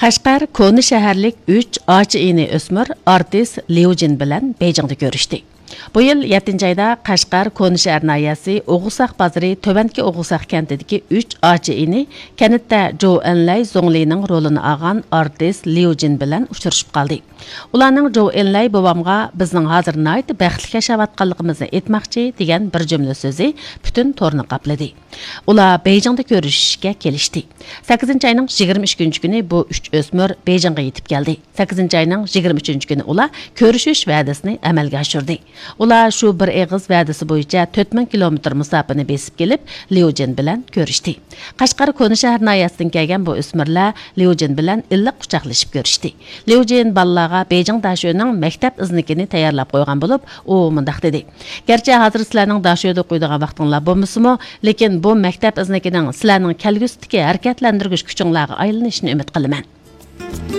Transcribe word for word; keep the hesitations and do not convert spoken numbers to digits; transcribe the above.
قەشقەر كونا شەھەرلىك ئۈچ ئاچا ئىنى ئۆسمۈر ئارتىس ليۇ جىن بىلەن بېيجىڭدا كۆرۈشتى. بۇ يىل يەتتىنچى ئايدا قەشقەر كونا شەھەر ناھىيەسى ئوغۇزساق بازىرى تۆۋەنكى ئوغۇزساق كەنتىدىكى ئۈچ ئاچا ئىنى كەنتتە جو ئېنلەي زۇڭلىنىڭ رولىنى ئالغان ئارتىس ليۇ جىن بىلەن ئۇچرىشىپ قالدى. ئۇلارنىڭ جو ئېنلەي بوۋامغا بىزنىڭ ھازىر ناھايىتى بەختلىك ياشاۋاتقانلىقىمىزنى ئېيتماقچى دېگەن بىر جۈملە سۆزى پۈتۈن تورنى قاپلىدى. ئۇلار بېيجىڭدا كۆرۈشۈشۈشكە كېلىشتى. سەككىزىنچى ئاينىڭ يىگىرمە ئىككىنچى كۈنى بۇ ئۈچ ئۆسمۈر بېيجىڭغا يېتىپ كەلدى. سەككىزىنچى ئاينىڭ يىگىرمە ئۈچىنچى كۈنى ئۇلار كۆرۈشۈش ۋەدىسىنى ئەمەلگە ئاشۇردى. ئۇلار شۇ بىر ئېغىز ۋەدىسى بويىچە تۆت مىڭ كىلومېتىر مۇساپىنى بېسىپ كېلىپ، ليۇ جىن بىلەن كۆرۈشتى. قەشقەر كونا شەھەر ناھىيەسىدىن كەلگەن بۇ ئۆسمۈرلەر ليۇ جىن بىلەن ئىللىق قۇچاقلىشىپ كۆرۈشتى. ليۇ جىن بالىلارغا بېيجىڭ داشۆنىڭ مەكتەپ ئىزنىكىنى تەييارلاپ قويغان بولۇپ، ئۇ مۇنداق دېدى: «گەرچە ھازىر سىلەرنىڭ داشۆدا ئوقۇيدىغان ۋاقتىڭلار بولمىسىمۇ، لېكىن بۇ مەكتەپ ئىزنىكىنىڭ سىلەرنىڭ كەلگۈسىدىكى ھەرىكەتلەندۈرگۈچ كۈچۈڭلارغا ئايلىنىشىنى ئۈمىد قىلىمەن.»